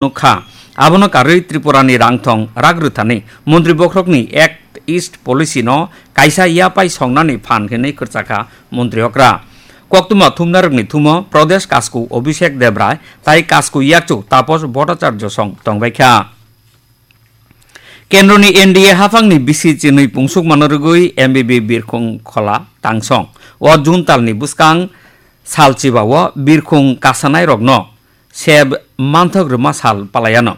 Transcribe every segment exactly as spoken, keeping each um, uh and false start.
nukha. Abono karwi Tripura ni rangthong rak rwthani montri bokhorokni Act East Policy no kaisa yapai songnani phan hinwi kwrwchakha montri okra. Koktwma thumnarokni thumo Pradesh Kasku Abhishek Debrai tai Kasku yakchu Taposh Bhattacharya song tongbaikha. Kendroni N D A haphangni bisi chinwi pungsukmano rwgwi M B B Birkhung Khola tangsong o June talni bwskang salchiba o Birkhung kasanairokno seb manthok rwma sal palaiano.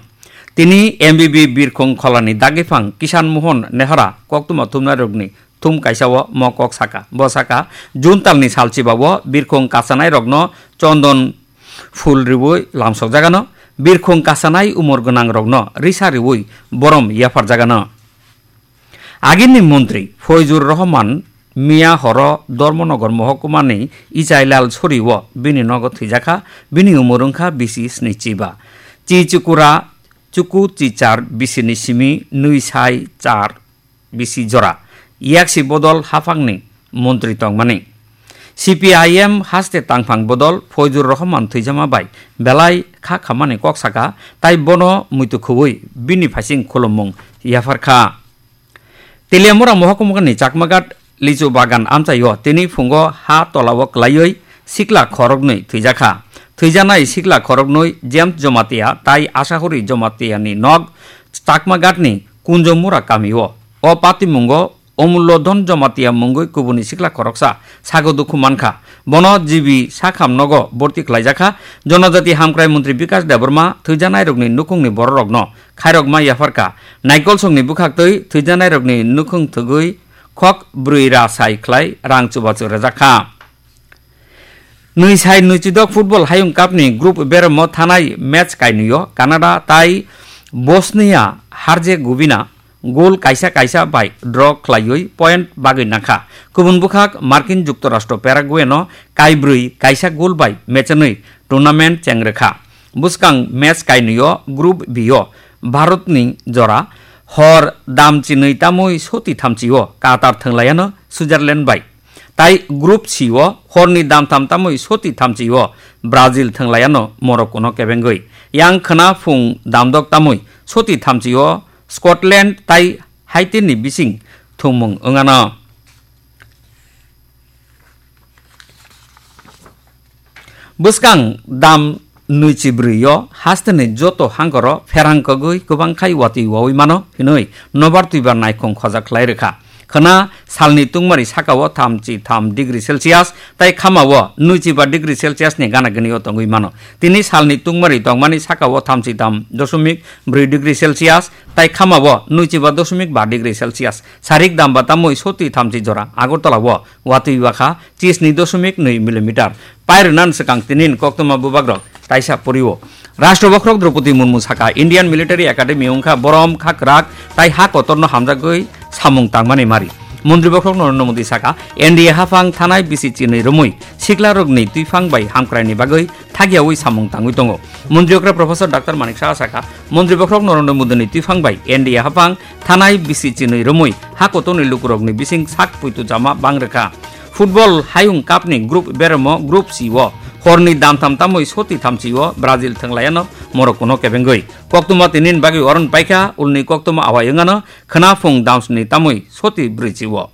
Tini M B B Birkhung Kholani dagiphang Kisan Mohon Nehara koktwma thumnairokni thum kaisa o mo kok saka. Bo saka, June talni salchiba o Birkhung kasanairokno chondon phul riwi lamsokjagano, Birkhung kasanai umor gwnangrokno risa riwi borom yapharjagano. Agini montri Foizur Rahman miya horo Dharmanagar mohokuma ni Ichailal Sori o bini nogo thwijakha, bini umor wngkha bisi snichi ba. Chi chukura chuku chi char bisi ni simi nwi sai char bisi jora. Yaksi bodol haphangni montri tongmani. C P I M haste tangphang bodol Foizur Rahman thwijama bai belai kha khamani kok saka, tai bono muitu khubui bini phaising khulummung yapharkha. Teliamura mohokuma ni Chakmaghat lichu bagan amchaio tini phungo ha tolao kwlaiwi sikla khoroknwi thwijakha. Thwijanai sikla khoroknwi James Jomatia tai Asahori Jomatia ni nok Chakmaghat ni Kunjomura kamio. O patimungo Omullo Dhon Jomatia mungwi kubuni sikla khoroksa sago dukhu mankha. Bono G B sakham nogo borti khlaijakha. Jonojati hamkrai montri Bikash Debbarma thwijanairokni nukhungni bororokno khairokma yapharkha. Naikolsongni bwkhaktwi thwijanairokni nukhung thwgwi khok brwi ra sai khlai rang chubachu rwjakha. Nwi sai nwichidok Football Hayung Cup ni Group beremo thanai match kainwio Canada tai Bosnia Herzegovina goal kaisa kaisa bai draw khlaiwi point bagwi nangkha. Kubun bwkhak Markin Juktorashtra Paraguay no kaibrwi kaisa goal bai mechenwi tournament chengrwkha. Bwskang match kainwio Group B o Bharat ni jora hor dam chinwi tamwi soti thamchi o Qatar thwnglaiano Switzerland bai. Tai Group C o horni damtham tamwi soti thamchi o Brazil thwnglaiano Morocco no kebengwi. Yang khwna phung damdok tamwi soti thamchi o Scotland tai Haiti ni bising thwngmung wngano. Bwskang dam nwichi brwi o hasteni joto hangkoro pherang kogwi kwbang khai watwi wawi mano hinwi nobar twibar naikhung khoja khlai rwkha. Khwna salni tungmari sakao thamchi tham degree Celsius tai khamao nwichi ba degree Celsius ni gana gini o tongwi mano. Tini salni tungmari tongmani sakao thamchi tham dosomik brwi degree Celsius tai khamao nwichi ba dosomik ba degree Celsius. Sarik damba tamwi soti thamchi jora Agartala o watwi wakha chisni dosomik nwi millimeter. Pairwnan swkang tinin koktwma bubagrok taisa poriwo. Rashtra bokhorok Draupadi Murmu saka Indian Military Academy wngkha borom kha kwrak tai ha kotorno hamjagwi samung tangmani mari. Montri bokhorok Narendra Modi saka N D A haphang thanai bisi chinwi romwi siklarokni twiphang bai hamkraini bagwi thagiyawi samung tangwi tongo. Montri okra Professor Doctor Manik Saha saka Montri bokhorok Narendra Modi ni twiphang bai N D A haphang thanai bisi chinwi romwi ha kotorni lukurokni bising sak puitu jama bang rwkha. Football Hayung Cup ni Group beremo Group C o horni damtham tamwi soti thamchi o Brazil thwnglaiano Morocco no kebengwi. Koktwma tinin bagwi oron paikha ulni koktwma awai wngano khwna phung damsni tamwi soti brwichi o.